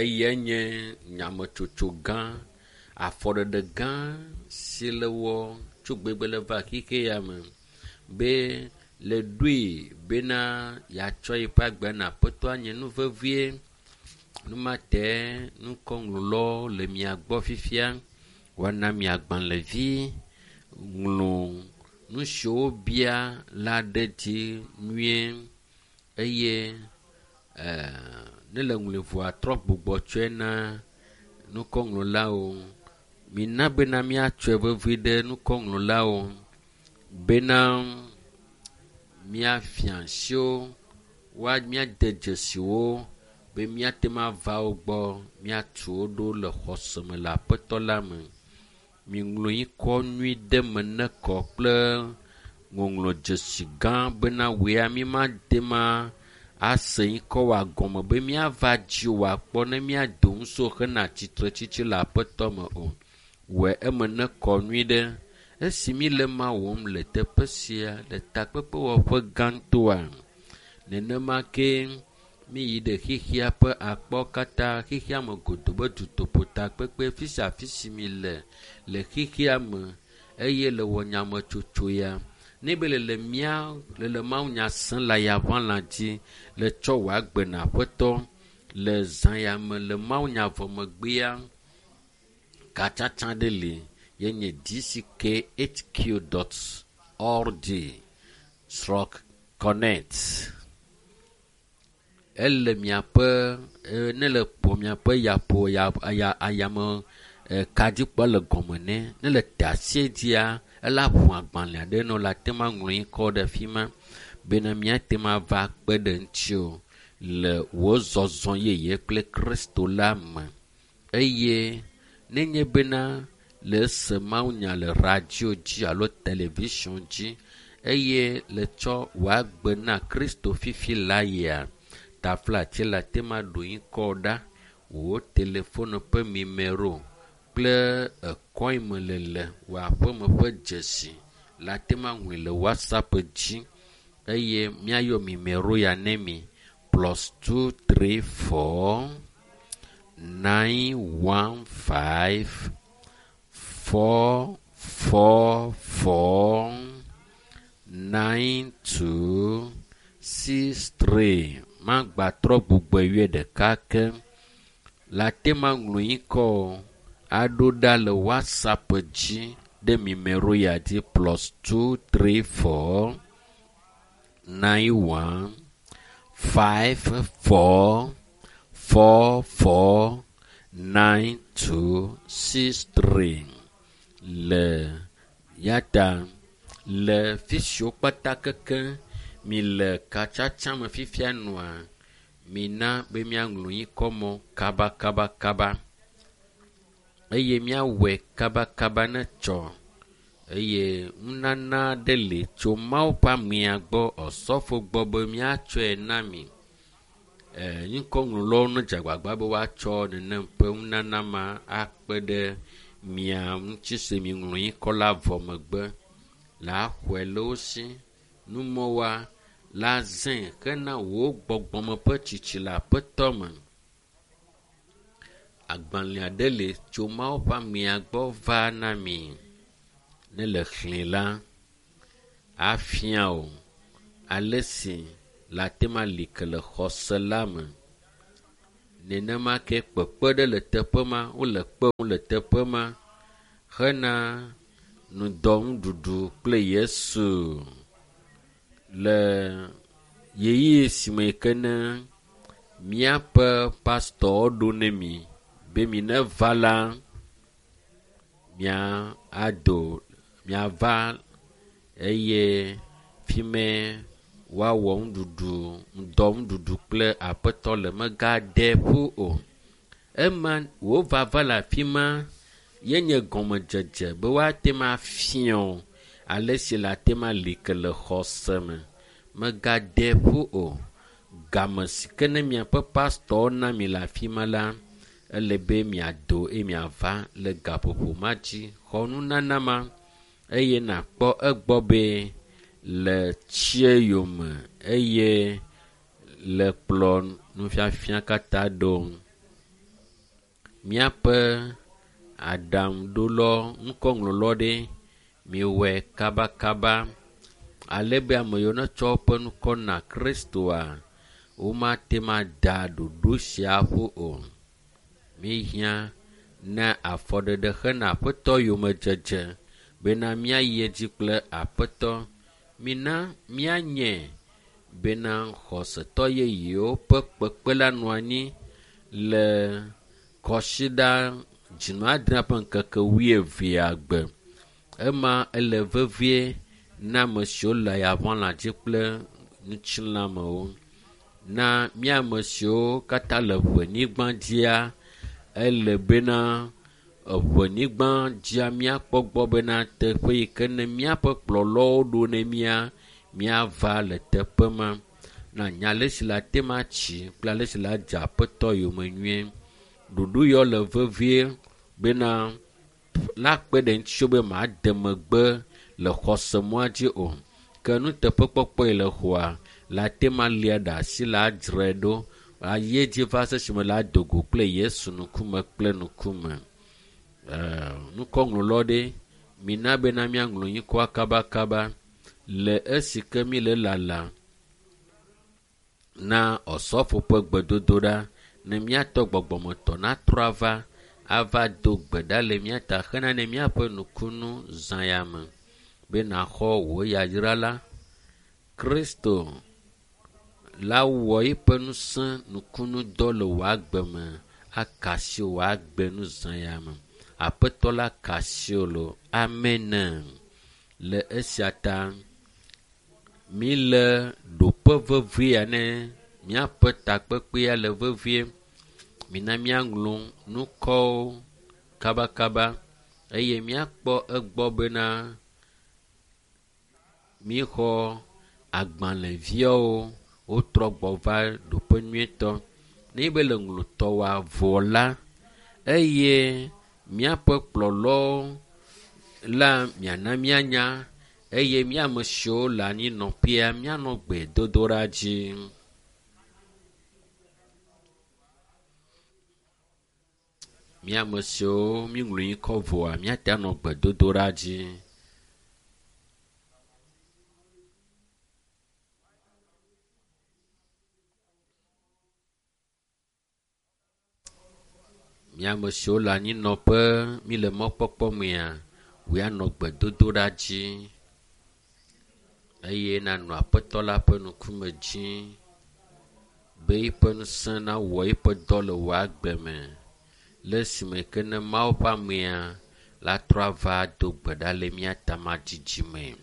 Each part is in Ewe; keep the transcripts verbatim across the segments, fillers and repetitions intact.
Eyae nye nyametsotso gã, afɔɖeɖe gã si le wɔ tso gbegbe le va xixe ya me be le ɖoe bena yeatsɔ yeƒe agbe na Aƒetɔ nye nu vevie. Numate ŋkɔŋlɔlawo le mia gbɔ fifia. Woana mi agbalẽvi, ŋlɔ nu siwo wobia la ɖe dzi nyuie eye e ne le ŋlɔe vɔa trɔ gbugbɔ tsɔe na ŋkɔŋlɔlawo. Mina bena míatsɔe vevi ɖe ŋkɔŋlɔlawo bena míafia asi wo, woa míade dzesi wo be míate ŋu ava wo gbɔ míatu wo ɖo le xɔse me le aƒetɔ la me. Miŋlɔ ŋkɔ nyui ɖe me ne kɔ kple ŋɔŋlɔdzesi gã bena wòya mímate ma ase ŋkɔ wòa gɔme be míava dzi wò akpɔ ne míado ŋusẽ hena tsitretsitsi le aƒetɔ me o. Wɔe eme nekɔ nyui ɖe. Esi míle ma wɔm le teƒe sia le takpekpewɔƒe gãtɔa, nenema ke míyi ɖe xexea ƒe akpawo katã, xexea me godoo be dutoƒo takpekpe fi sia fi si mi le le xexea me eye le wɔ nyametsotso ya. Ne be le le mía le le mawunya sem le ayaʋalã dzi le tsɔ wò agbe na aƒetɔ le zã ya me le mawunya vɔ megbea, katsatsa ɖe li ye nye dckhq.org stroke connect. Ele miaƒe ne le kpɔ miaƒe yaƒo ya aya ayame kadzikpɔ le gɔme ne ne le te asie dzia ela ʋu agbalẽ aɖe nɔ la te ma ŋlɔ ŋkɔ ɖe fi ma bena míate ŋu ava kpe ɖe ŋutiwò le wò zɔzɔ yeye kple Kristo la me. Eye nenye bena le ese mawunya le radio dzi alo television dzi eye le tsɔ wò agbe na Kristo fifi la yia, taflatse le ate ma ɖo ŋkɔ ɖa, wò telefone ƒe nimero kple ekɔ yi me le le wò aƒeme ƒe dzesi le ate ma ŋlɔe le WhatsApp dzi eye míayɔ nimero ya ne mi plus two three four nine one five four four four nine two six three. Magbatrɔ gbugbɔe yɔe ɖeka ke. Le ate ma ŋlɔ ŋkɔ aɖo ɖa le WhatsApp dzi ɖe nimero ya dzi plus two three four nine one five four four four nine two six three le ya ta le fi siwo kpata keke mi le katsatsa me fifia nɔa mina be míaŋlɔ ŋkɔ mɔ kaba kaba kaba eye míawɔe kabakaba ne tsɔ eye nunana aɖe li tso Mawu ƒe amea gbɔ osɔfo gbɔ be míatsɔe na mi. E ŋkɔŋlɔlawo nedze agbagba be woatsɔ nenem ƒe nunana ma akpe ɖe mia ŋuti si miŋlɔ ŋkɔ la vɔ megbe la xɔe le wo si. Numɔwoa la zãe hena wò gbɔgbɔme ƒe tsitsi le aƒetɔ me. Agbalẽ aɖe li tso Mawu ƒe amea gbɔ va na mi. Ne le xlẽ la, afia wò ale si le ate ma li ke le xɔse la me. Nenema ke kpekpe ɖe le teƒe ma, wole kpem le teƒe ma hena ŋdɔ nuɖuɖu kple Yesu le ɣeyiɣi si me ke ne míaƒe pastɔwo ɖo ne mi be mi neva la, mia ado miava eye fi mɛ woawɔ nuɖuɖu ŋdɔ nuɖuɖu kple aƒetɔ le megade ƒu o. Ema wò vava le afi ma ye nye gɔmedzedze be woate ma afia wò ale si le ate ma li ke le xɔse me. Megade ƒu o. Game si ke ne miaƒe pastɔwo na mi le afi ma la, ele be miado eye miava le gaƒoƒo ma dzi. Xɔ nunana ma eye nàkpɔ egbɔ be le tsie yome eye le kplɔ nufiafia katã ɖo. Míaƒe aɖaŋuɖolɔ ŋkɔŋlɔlɔ ɖe miwɔe kabakaba ale be ame yiwo netsɔ woƒe ŋkɔ na Kristoa womate ŋu ada ɖoɖo sia ƒu o. Míehiã na afɔɖeɖe hena Aƒetɔ yomedzedze bena míayi edzi kple Aƒetɔ. Mina míanye bena xɔsetɔ yeyewo ƒe kpekpe la nɔ anyi le kɔsiɖa dzinu adre ƒe ŋkeke wuievea gbe. Ema ele vevie na ame siwo le ayaʋalã dzi kple ŋutilãmewo. Na mía ame siwo katã le ʋenyigba dzia, ele bena eʋenyigba dzia míakpɔ gbɔ bena teƒe yi ke ne míaƒe kplɔlɔwo ɖo ne mía, míava le teƒe ma. Na nya ale si le ate ŋu atsi kple ale si le adze Aƒetɔ yome nyuie. Ɖoɖo yawo le vevie bena la kpe ɖe ŋutiwò be màde megbe le xɔsemɔa dzi o. Ke nuteƒekpɔkpɔ yi le xɔa, le ate ŋu alia ɖe asi le adzrae ɖo ayi edzi va se esime le ado go kple Yesu ŋkume kple ŋkume. Ɛɛ ŋkɔŋlɔlɔ ɖe, mina bena míaŋlɔ ŋkɔa kabakaba le esi ke mí le lala na osɔfo ƒe gbedodoɖa ne míatɔ gbɔgbɔmetɔ natrɔ ava ava do gbe ɖa le mía ta hena ne míaƒe nukunu zã ya me be nàxɔ wò yayra la. Kristo la wɔ eƒe ŋusẽ nukunudɔ le wò agbe me aka asi wò agbe nu zã ya me. Aƒetɔ la ka asi wò loo. Amen. Le esia ta míle ɖoƒe vevie ya ne míaƒe takpekpea le vevie. Mina míaŋlɔ ŋkɔwo kabakaba eye míakpɔ egbɔ bena míexɔ agbalẽviawo wotrɔ gbɔ va ɖoƒe nyuietɔ. Ne be le ŋlɔtɔwoa vɔ la eye míaƒe kplɔlɔwo la miana míanya eye mía ame siwo le anyinɔƒea míanɔ gbedodoɖa dzi. Mía ame siwo míŋlɔ ŋkɔ vɔa míate anɔ gbedodoɖa dzi. Mía ame siwo le anyinɔƒe míle mɔkpɔkpɔ mea, woanɔ gbedodoɖa dzi eye nanɔ Aƒetɔ la ƒe ŋkume dzi be eƒe ŋusẽ nawɔ eƒe dɔ le wò agbe me. Le esime ke ne Mawu ƒe amea la trɔ ava do gbe ɖa le mía ta madzidzime.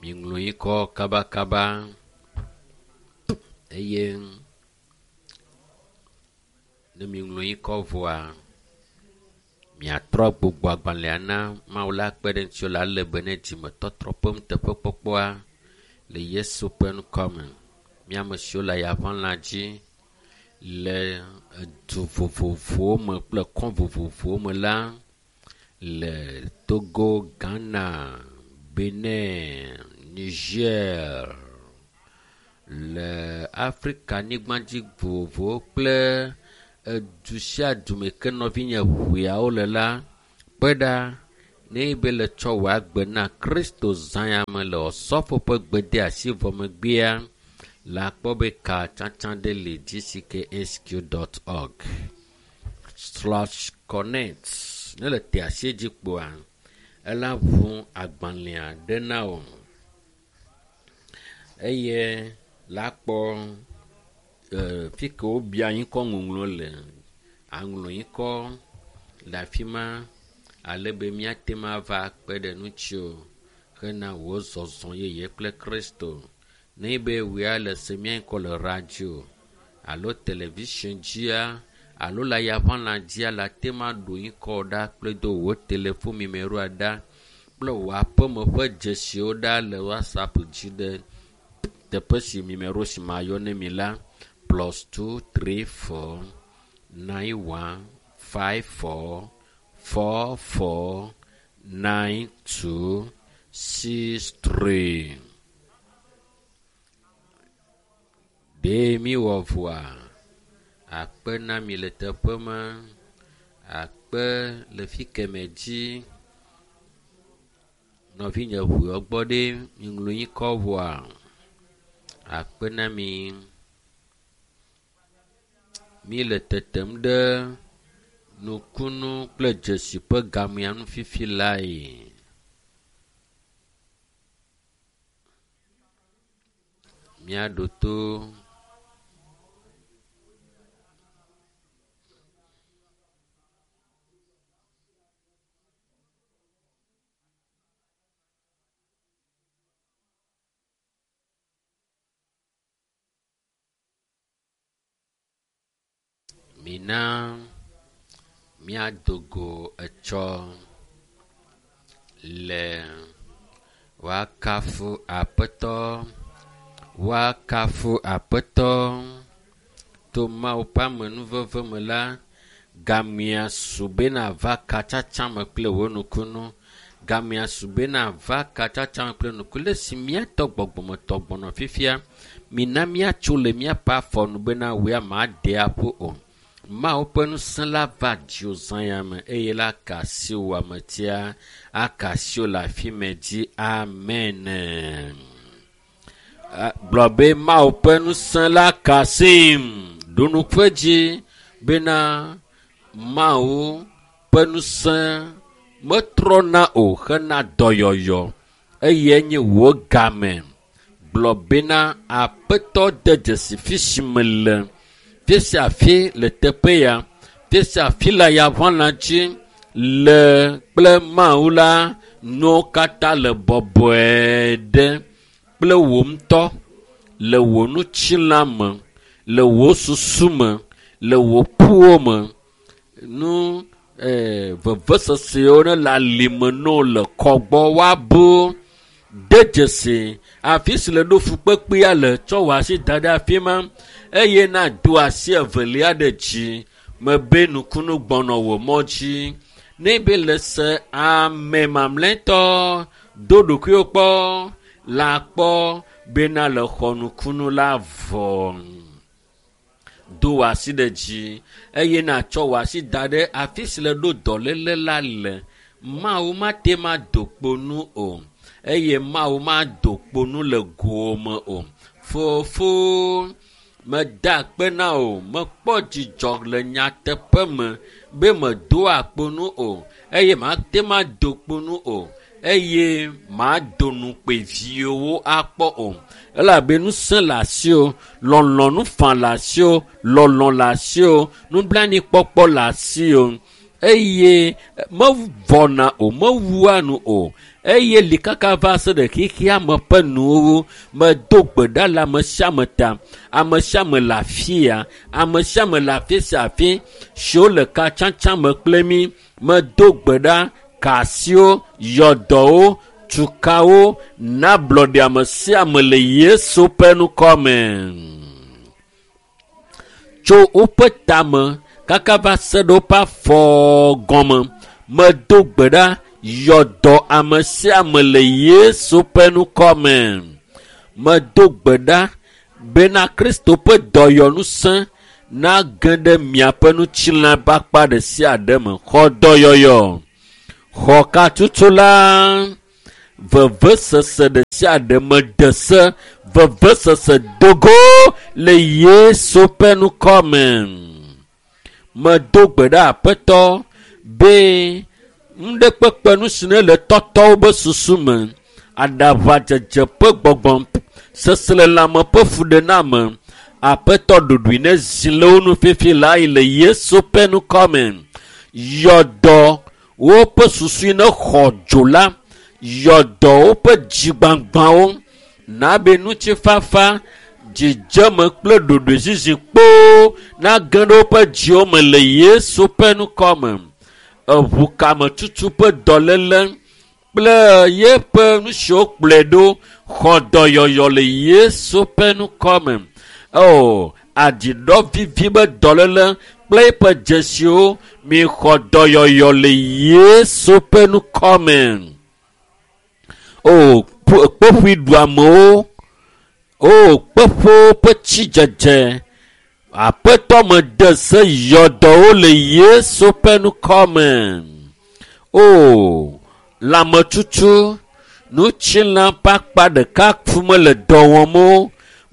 Miŋlɔ ŋkɔ kabakaba eye ne miŋlɔ ŋkɔ vɔa, miatrɔ gbugbɔ agbalẽa na Mawu la kpe ɖe ŋutiwò le ale be ne dzimetɔtrɔ ƒe nuteƒekpɔkpɔa le Yesu ƒe ŋkɔ me. Mía ame siwo le ayaʋalã dzi le edu vovovowo me kple kɔ vovovowo me la le Togo, Ghana, Benin, Niger, le Afrika nyigbadzi vovovowo kple edu sia du me ke nɔvinye ʋeawo le la, kpe ɖa ne be le tsɔ wò agbe na Kristo zã ya me le osɔfo ƒe gbedeasi vɔ megbea, le akpɔ be ka tsatsa ɖe le gcksq.org slash connect. Ne le te asi dzi kpoa, ela ʋu agbalẽa ɖe na wò eye la kpɔ e, fi ke wobia ŋkɔ ŋɔŋlɔ le. Aŋlɔ ŋkɔ le afi ma ale be míate ŋu ava kpe ɖe ŋutiwò hena wò zɔzɔ yeye kple Kristo. Ne be wòya le se mía ŋkɔ le radio alo television dzia alo le ayaʋalã dzia le ate ŋu aɖo ŋkɔ ɖa kple do wò telefon numeroa ɖa kple wò aƒeme ƒe dzesiwo ɖa le WhatsApp dzi ɖe teƒe si numero si mayɔ ne mi la plus two three four nine one five four four four nine two six three. Ɖe mi wɔ vɔa? Akpe na mi le teƒe ma. Akpe le fi keme dzi. Nɔvinye ʋuɔ gbɔ ɖe mi ŋlɔ ŋkɔ vɔa? Akpe na mi. Mi le tetem ɖe nukunu kple dzesi ƒe gamea nu fifi lae. Míaɖo to. Mina míado go etsɔ le woakafu Aƒetɔ, woakafu Aƒetɔ. To Mawu ƒe amenuveve me la, gamea su bena va katsatsa me kple wò nukunu. Gamea su bena va katsatsa me kple nukunu. Le si míatɔ gbɔgbɔmetɔ gbɔnɔ fifia, mina míatso le míaƒe afɔ nu bena wòe made aƒu o. Mawu ƒe ŋusẽ la va dziwò zã ya me eye la ka asi wò ametia, aka asi wò le afi me dzi. Amen. Gblɔ be Mawu ƒe ŋusẽ la ka asim. Ɖo nuƒe dzi bena Mawu ƒe ŋusẽ metrɔna o hena dɔyɔyɔ eye nye wò game. Gblɔ bena Aƒetɔ de dzesi fi si mele. Fi sia fi le teƒe ya, fi sia fi le ayaʋãla dzi le kple Mawu la, nuwo katã le bɔbɔe ɖe kple wò ŋutɔ le wò ŋutilã me, le wò susu me, le wò ƒuwo me. Nu eh, vevesesewo ne le alime ne wo le kɔgbɔ woabu. De dzesi afi si le ɖo fukpekpea le, tsɔ wò asi da ɖe afi ma eye nado asi evelia ɖe dzi mebe nukunu gbɔnɔ wò mɔ dzi. Ne be le se ame mamlɛtɔ do ɖokuiwo kpɔ la kpɔ bena le xɔ nukunu la vɔ. Do wò asi ɖe dzi eye natsɔ wò asi da ɖe afi si le ɖo dɔléle la le. Mawu mate ma do kpo nu o eye Mawu mado kpo nu le gome o. Fofo, meda akpe na wò, mekpɔ dzidzɔ le nyateƒe me be medoa kpo nu o eye mate ma do kpo nu o eye mado nukpe viwo akpɔ o. Elabe ŋusẽ le asiwò, lɔlɔ̃nu faa le asiwò, lɔlɔ̃ le asiwò, nublanuikpɔkpɔ le asiwò eye mevɔna o, mewua nu o eye li kaka va se ɖe xexea me ƒe nuwo. Medo gbe ɖa le ame sia ame ta. Ame sia ame le afia, ame sia ame le afi sia afi siwo le katsatsa me kple mí. Medo gbe ɖa ka asiwo, yɔdɔwo, tukawo, na ablɔɖe ame sia ame le Yesu ƒe ŋkɔ me. Tso woƒe tame kaka va se ɖe woƒe afɔ gɔme. Medo gbe ɖa yɔdɔ ame sia ame le Yesu ƒe ŋkɔ me. Medo gbe ɖa bena Kristo ƒe dɔyɔŋusẽ nage ɖe miaƒe ŋutilã ƒe akpa ɖe sia ɖe me. Xɔ dɔyɔyɔ, xɔ katutu la, vevesese ɖe sia ɖe mede se, vevesese dogo le Yesu ƒe ŋkɔ me. Medo gbe ɖa Aƒetɔ be nuɖekpekpe nu si ne le tɔtɔwo be susu me, aɖaʋadzedze ƒe gbɔgbɔ, seselelãme ƒe fuɖename, Aƒetɔ ɖoɖoe ne zi le wo nu fifi la yi le Yesu ƒe ŋkɔ me. Yɔdɔ woƒe susu ne xɔ dzo la, yɔdɔ woƒe dzigbãgbãwo, nabe ŋutifafa, dzidzeme kple ɖoɖoezizi kpoo nage ɖe woƒe dziwo me le Yesu ƒe ŋkɔ me. Eʋukametutu ƒe dɔléle kple yeƒe nu siwo kplɔe ɖo xɔ dɔyɔyɔ le Yesu ƒe ŋkɔ me. O, aɖiɖɔ vivi be dɔléle kple eƒe dzesiwo mi xɔ dɔyɔyɔ le Yesu ƒe ŋkɔ me. O kpeƒui ɖuamewo o kpeƒewo ƒe tsidzedze aƒetɔ me de se yɔdɔwo le Yesu ƒe ŋkɔ me. O lãmetutu ŋutilã ƒe akpa ɖeka fu mele dɔ wɔm o.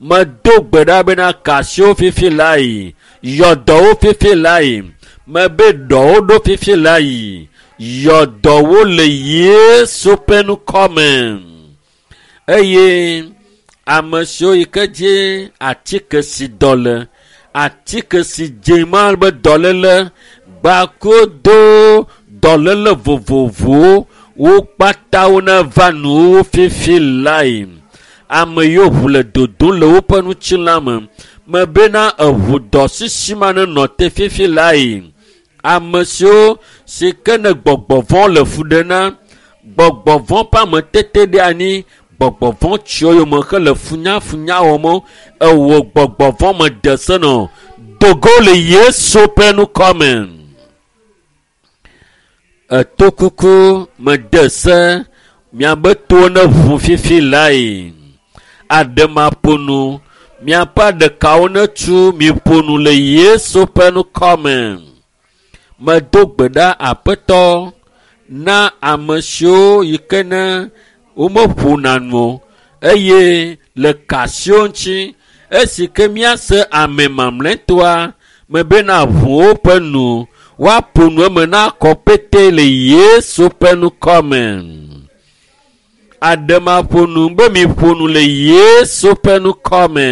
Medo gbe ɖa bena kasiwo fifi lae, yɔdɔwo fifi lae, mebe ɖɔwo ɖo fifi lae, yɔdɔwo le Yesu ƒe ŋkɔ me. Eye ame siwo yi ke dzi atike si dɔ le, atike si dze ma be dɔléle, gbakodo dɔléle vovovowo, wo kpata neva nuwo fifi lae. Ame yiwo ʋu le dodom le woƒe ŋutilã me, mebena eʋu dɔ sisi ma nenɔ te fifi lae. Ame siwo si ke ne gbɔgbɔ vɔ̃ le fu ɖe na, gbɔgbɔ vɔ̃ ƒe ametete ɖe anyi, gbɔgbɔ vɔ̃ tsiwo yome hele funyafunya wɔm wo, ewɔ gbɔgbɔ vɔ̃ me de se nɔ dogo le Yesu ƒe ŋkɔ me. Etokuku me de se miabe towo ne ʋu fifi lae. Aɖemaƒonu miaƒe aɖekawo netu miƒo nu le Yesu ƒe ŋkɔ me. Medo gbe ɖa aƒetɔ na ame siwo yi ke ne womeƒona nu o eye le kasiwo ŋuti esi ke míase ame mamlɛtɔa mebena ʋu woƒe nu woaƒo nu eme na kɔ pete le Yesu ƒe ŋkɔ me. Aɖemaƒonu be miƒo nu le Yesu ƒe ŋkɔ me.